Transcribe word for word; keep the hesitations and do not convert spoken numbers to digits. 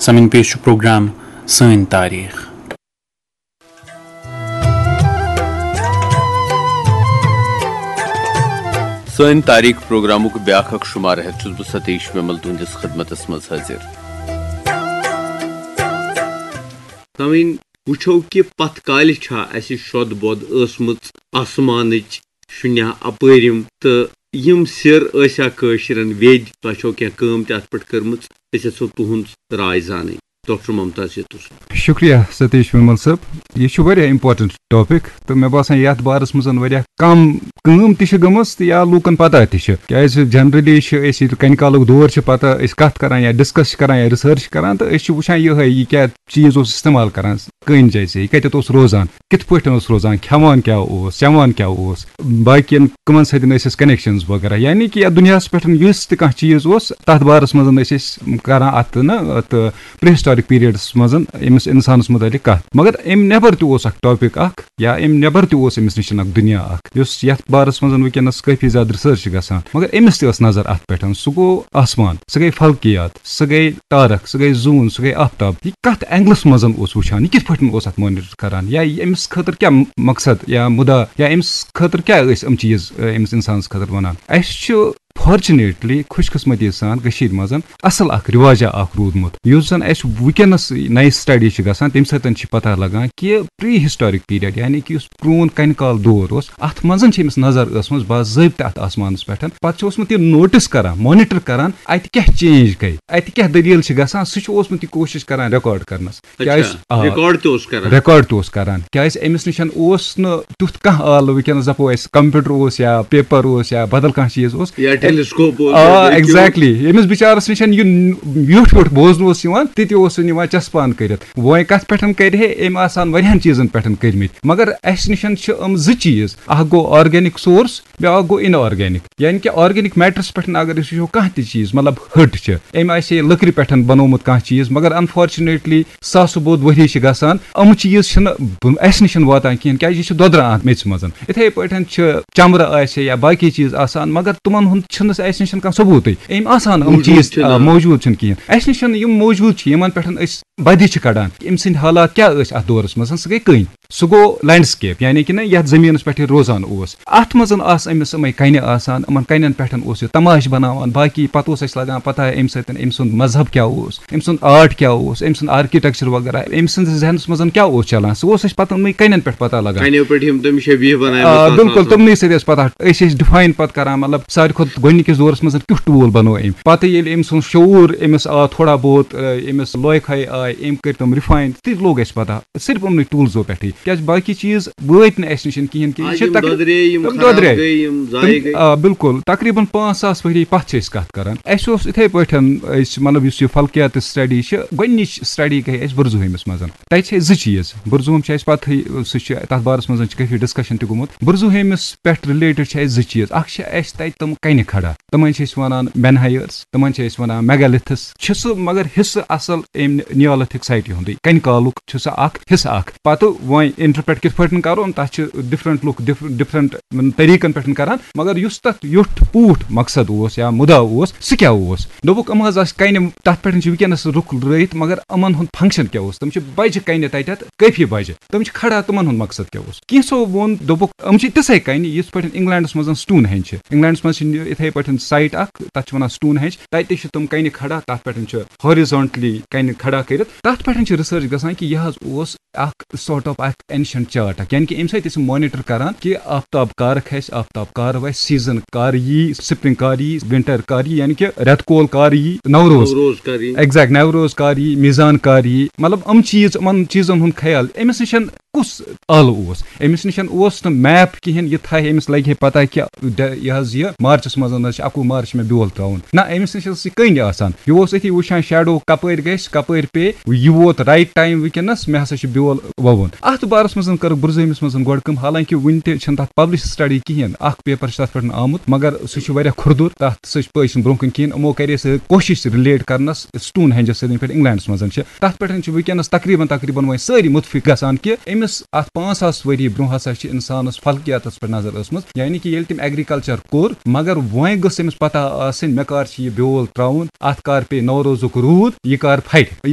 سامعین، پیش چھُ پروگرام سٲنۍ تاریخ۔ سٲنۍ تاریخ پروگرامُک بیاکھ اکھ شمارٕ ہٮ۪تھ چھُس بہٕ ستیش ومل تُہنٛدِس خدمتس منٛز حٲضِر۔ سامعین، وٕچھو کہِ پتھ کالہِ چھا اسہِ شۄد بۄد ٲسمٕژ آسمانٕچ شُنیا اپٲرِم، تہٕ یِم سِر ٲسیا کٲشرٮ۪ن ویدۍ؟ تۄہہِ چھو کینٛہہ کٲم تہِ اتھ پٮ۪ٹھ کٔرمٕژ، أسۍ یژھو تُہنٛز راے زانٕنۍ۔ ڈاکٹر ممتاز یتُس۔ شُکریہ ستیش ومل صٲب، یہِ چھُ واریاہ important topic، تہٕ مےٚ باسان یتھ بارس منٛز واریاہ کم کٲم تہِ چھِ گٔمٕژ تہٕ یا لوٗکن پتہ تہِ چھِ، کیازِ generally چھِ أسۍ ییٚلہِ کنہِ کالُک دور چھِ پتہ، أسۍ کتھ کران یا discuss چھِ کران یا research چھِ کران، تہٕ أسۍ چھِ وٕچھان یِہے، یہِ کیٛاہ چیٖز اوس استعمال کران، کٔنۍ جیسے یہِ کتٮ۪تھ اوس روزان، کِتھ پٲٹھۍ اوس روزان، کھٮ۪وان کیٛاہ اوس، چٮ۪وان کیٛاہ اوس، باقین کٕمن سۭتۍ ٲسۍ اَسہِ connections وغیرہ، یعنی کہِ یتھ دُنیاہس پٮ۪ٹھ یُس تہِ کانٛہہ چیٖز اوس، تتھ بارس منٛز ٲسۍ أسۍ کران اتھ نہ اتھ prehistoric periodس منٛز أمِس انسانس متعلق کتھ۔ مگر امہِ نٮ۪بر تہِ اوس اکھ topic اکھ، یا امہِ نٮ۪بر تہِ اوس أمِس نِش اکھ دُنیا اکھ، یُس یتھ بارس منٛز وٕنکیٚنس کٲفی زیادٕ research چھِ گژھان، مگر أمِس تہِ ٲس نظر اتھ پٮ۪ٹھ۔ سُہ گوٚو آسمان، سُہ گٔے فلکیات، سُہ گٔے تارک، سُہ گٔے زوٗن، سُہ گٔے آفتاب۔ یہِ کتھ angleس منٛز اوس وٕچھان، یہِ کِتھ پٲٹھۍ اوس اتھ monitor کران، یا یہِ أمِس خٲطرٕ کیٛاہ مقصد یا مُدا، یا أمِس خٲطرٕ کیٛاہ ٲسۍ یِم چیٖز، أمِس انسانس خٲطرٕ ونان۔ اسہِ چھُ fortunately، خوش قسمتی سان، کٔشیٖرِ منٛز اصل اکھ رواجہ اکھ روٗدمُت، یُس زن اسہِ وٕنکیٚنس نَیہِ study چھِ گژھان، تمہِ سۭتۍ چھِ پتہ لگان کہِ prehistoric period، یعنی کہِ یُس پرون کنہِ کال دور اوس، اتھ منٛز چھِ أمِس نظر ٲسمٕژ باضٲبطہٕ اتھ آسمانس پٮ۪ٹھ۔ پتہٕ چھُ اوسمُت یہِ notice کران، monitor کران، اتہِ کیٛاہ change گٔے، اتہِ کیٛاہ دٔلیٖل چھِ گژھان، سُہ چھُ اوسمُت یہِ کوٗشِش کران record کرنس۔ کیٛازِ؟ آ۔ Record تہِ اوس کران۔ Record تہِ اوس کران۔ کیٛازِ أمِس نِش اوس نہٕ تیُتھ کانٛہہ آلہٕ، وٕنکیٚنس دَپو أسۍ computer اوس یا paper اوس یا بدل کانٛہہ چیٖز اوس۔ یا telescope اوس، آ، یا exactly۔ ییٚمِس بِچارَس نِش یہِ ویوٚٹھ ویوٚٹھ بوزنہٕ اوس یِوان، تہِ تہِ اوس نہٕ یِوان چَسپان کٔرِتھ۔ وۄنۍ کَتھ پٮ۪ٹھ کٔرِ ہے أمۍ آسان واریاہَن چیٖزَن پٮ۪ٹھ کٔرمٕتۍ، مگر اَسہِ نِش چھِ یِم زٕ چیٖز، اَکھ گوٚو organic source، بیٛاکھ گوٚو inorganic۔ یعنی کہِ organic matterس پٮ۪ٹھ اگر أسۍ وٕچھو کانٛہہ تہِ چیٖز، مطلب ہٕٹ چھِ، أمۍ آسہِ ہے لٔکرِ پٮ۪ٹھ بنومُت کانٛہہ چیٖز، مگر unfortunately ساسہٕ بوٚد ؤری چھِ گژھان، یِم چیٖز چھِنہٕ ب-، اَسہِ نِش واتان کِہیٖنۍ، کیٛازِ یہِ چھِ دۄدران اَتھ میٚژِ منٛز۔ یِتھَے پٲٹھۍ چھِ چمرٕ آسہِ یا باقٕے چیٖز آسان، مگر تِمَن ہُنٛد چھِنہٕ اَسہِ نِش کانٛہہ ثبوٗتٕے۔ أمۍ آسان یِم موجوٗد چیٖز، چھِنہٕ۔ آ، موجوٗد چھِنہٕ کِہیٖنۍ۔ اَسہِ نِش یِم موجوٗد چھِ، یِمَن پٮ۪ٹھ أسۍ بدِ چھِ کڑان، أمۍ سٕنٛدۍ حالات کیٛاہ ٲسۍ اَتھ دورَس منٛز، سُہ گٔے کٔنۍ۔ سُہ گوٚو landscape، یعنی کہِ نہ یَتھ زٔمیٖنَس پٮ۪ٹھ یہِ روزان اوس۔ اَتھ منٛز آسہٕ أمِس یِمَے کَنہِ آسان، یِمَن کَنٮ۪ن پٮ۪ٹھ اوس یہِ تماشہٕ بَناوان، باقٕے پَتہٕ اوس اَسہِ لَگان پَتہ أمۍ سۭتۍ أمۍ سُنٛد مذہب کیٛاہ اوس، أمۍ سُنٛد art کیٛاہ اوس، أمۍ سُنٛد architecture وغیرہ، أمۍ سٕنٛدِس ذہنَس منٛز کیٛاہ اوس چَلان، سُہ اوس اَسہِ پَتہٕ یِمَے کَنٮ۪ن پٮ۪ٹھ پَتہ لَگان۔ کَنیو پٮ۪ٹھ یِم تٔمۍ شبیٖہ بَنایمٕتۍ آ، آسان بِلکُل، آسان۔ تِمنٕے سۭتۍ ٲسۍ پَتہ۔ أسۍ ٲسۍ define پَتہٕ کَران، مطلب، ساروی کھۄتہٕ گۄڈٕنِکِس دورَس منٛز کیُتھ tool بَنوو أمۍ۔ پَتہٕ ییٚلہِ أمۍ سُنٛد شعوٗر أمِس آو تھوڑا بہت، آ، أمِس لوے کھے آے، أمۍ کٔرۍ تِم refine، تہِ لوٚگ اَسہِ پَتہ۔ صرف یِمنٕے ٹوٗلزو پٮ۪ٹھٕے، کیٛازِ باقٕے چیٖز وٲتۍ نہٕ اَسہِ نِش کِہیٖنۍ کہِ یہِ آز چھِ یِم تقریٖب-، دۄدرے، یِم یِم خراب دۄدرے۔ گٔے، یِم ضایع تِم، گٔے۔ آ، بِلکُل، تقریٖباً پانٛژھ ساس ؤری پَتھ چھِ أسۍ کَتھ کَران۔ اَسہِ اوس یِتھَے پٲٹھۍ، أسۍ، مطلب، یُس یہِ فلکیاتٕچ study چھِ، گۄڈٕنِچ study گٔے اَسہِ بُرزُہٲمِس منٛز۔ تَتہِ چھِ أسۍ زٕ چیٖز، بُرزُہوم چھِ اَسہِ پَتہٕے، سُہ چھُ، تَتھ بارَس منٛز چھِ کٲفی discussion تہِ گوٚمُت۔ بُرزُہٲمِس پٮ۪ٹھ related چھِ اَسہِ زٕ چیٖز، اَکھ چھِ اَسہِ تَتہِ تِم کَنہِ کھڑا، تِمَن چھِ أسۍ وَنان menhirs، تِمَن چھِ أسۍ وَنان megaliths۔ چھِ سُہ مگر حصہٕ اَصٕل أمۍ Neolithic site ہُنٛدُے، کَنہِ کالُک چھُ سُہ اَکھ حصہٕ اَکھ۔ پَتہٕ وۄنۍ interpret کِتھ پٲٹھۍ کَرون، تَتھ چھِ different لُکھ different، different طریٖقَن پٮ۪ٹھ کَران، مگر یُس تَتھ یُتھ پوٗٹھ مقصد اوس یا مُدا اوس، سُہ کیٛاہ اوس؟ دوٚپُکھ، یِم حظ آسہٕ کَنہِ، تَتھ پٮ۪ٹھ چھِ وٕنکیٚنَس لُکھ رٲیِتھ، مگر یِمَن ہُنٛد function کیٛاہ اوس؟ تِم چھِ بَجہِ کَنہِ تَتٮ۪تھ کٲفی بَجہِ۔ تِم چھِ کھڑا، تِمن ہُنٛد مقصد کیٛاہ اوس؟ کینٛژھو ووٚن، دوٚپُکھ، یِم چھِ تِژھے کَنہِ، یِتھ پٲٹھۍ Englandس منٛز Stonehenge چھِ۔ Englandس منٛز چھِ یِتھے پٲٹھۍ site اکھ، تَتھ چھِ وَنان Stonehenge۔ تَتہِ تہِ چھِ تِم کَنہِ کھڑا، تَتھ پٮ۪ٹھ چھِ horizontally کَنہِ کھڑا کٔرِتھ۔ تَتھ پٮ۪ٹھ چھِ research گژھان کہِ یہِ حظ اوس اکھ sort of اکھ ancient chart اکھ، یعنی کہِ اَمہِ سۭتۍ ٲسۍ monitor کران کہِ آفتاب کر کھسہِ، آفتاب کر وَسہِ، season کر یی، spring کر یی، winter کر یی، یعنی کہِ رٮ۪تہٕ کول کر یی، نوروز۔ نوروز کر یی۔ Exact، نوروز کر یی، میزان کر یی، مطلب، یِم چیٖز، یِمن چیٖزن ہُنٛد خیال۔ أمِس نِش کُس آلہٕ اوس؟ أمِس نِش اوس نہٕ map کِہینۍ، یہِ تھایہِ، أمِس لگہِ ہے پتہ کہِ ڈ-، یہِ حظ یہِ مارچس منٛز حظ چھِ اَکوُہ مارچ مےٚ بیول ترٛاوُن۔ نہ، أمِس نِش ٲس یہِ کٔنۍ آسان۔ یہِ اوس أتھی وٕچھان shadow کپٲرۍ گژھِ، کپٲرۍ پیٚیہِ، یہِ ووت right time وٕنکیٚنس، مےٚ ہسا چھُ بیول وَوُن۔ اَتھ بارس منٛز کٔرٕکھ بُرزٲمِس منٛز گۄڈٕ کٲم، حالانکہِ وُنہِ تہِ چھِنہٕ تَتھ publish study کِہینۍ۔ اکھ paper چھُ تَتھ پٮ۪ٹھ آمُت، مگر سُہ چھُ واریاہ کھُردُر، تَتھ سۭتۍ چھُنہٕ برونٛہہ کُن کِہینۍ۔ یِمو کَرے سُہ کوٗشِش relate کرنس Stonehenge سۭتۍ، یِتھ پٲٹھۍ Englandس منٛز چھِ۔ تَتھ پٮ۪ٹھ چھِ وٕنکیٚنَس تقریٖباً، تقریٖباً وۄنۍ سٲری مُتفِق گژھان کہِ أمِس اَتھ پانٛژھ ساس ؤری برونٛہہ ہسا چھِ اِنسانَس فلکیاتَس پٮ۪ٹھ نظر ٲسمٕژ، یعنی کہِ ییٚلہِ تٔمۍ agriculture کوٚر، مگر وۄنۍ گٔژھ أمِس پَتہ آسٕنۍ، مےٚ کر چھُ یہِ بیول ترٛاوُن، اَتھ کر پیٚیہِ نوروزُک روٗد، یہِ کر پھٹہِ۔ یہِ